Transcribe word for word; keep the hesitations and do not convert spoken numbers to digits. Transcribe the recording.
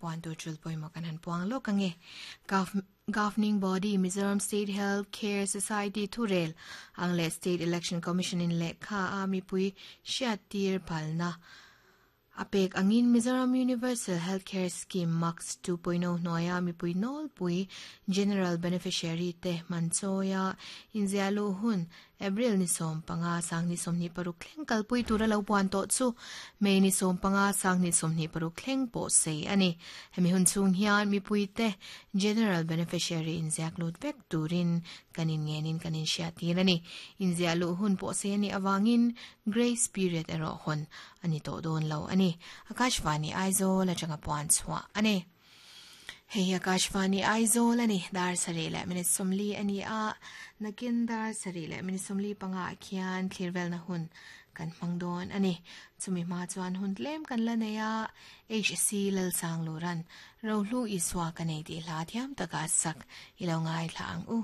puan tur tul pawimawh kan han puang lawk ange. Governing Body Mizoram State Health Care Society thurel ang leh State Election Commission in lehkha a mipui hriattir phalna a pek angin Mizoram Universal Healthcare Scheme MUCS two point oh hnuaia mipui nawlpui General Beneficiary te hmanchawia inziahluh hun April ni sawm panga sang ni sawmhnih paruk thleng kalpui tura lo puan tawh chu May ni sawm panga sang ni sawmhnih paruk thleng pawh sei a ni. Hemi hun chhung hian mipui te General Beneficiary inziak lut vek turin kan inngenin kan inhriattir a ni. Inziahluh hun pawh sei a nih avangin Grace period erawh hawn a ni tawh dawn lo a ni. Akashvani Aizawl atanga puan chhuah a ni. Hei Akashvani Aizawl a ni. Dar sarih leh minute sawmli a ni a, nakin dar sarih leh minute sawmli panga ah khian thlirvelna hun kan hmang dawn a ni. Chumi hma chuan hun tlem kan la nei a, H C Lalsang Luran Rohlu Isua ka nei tih hla thiam taka sak i lo ngaithla ang u.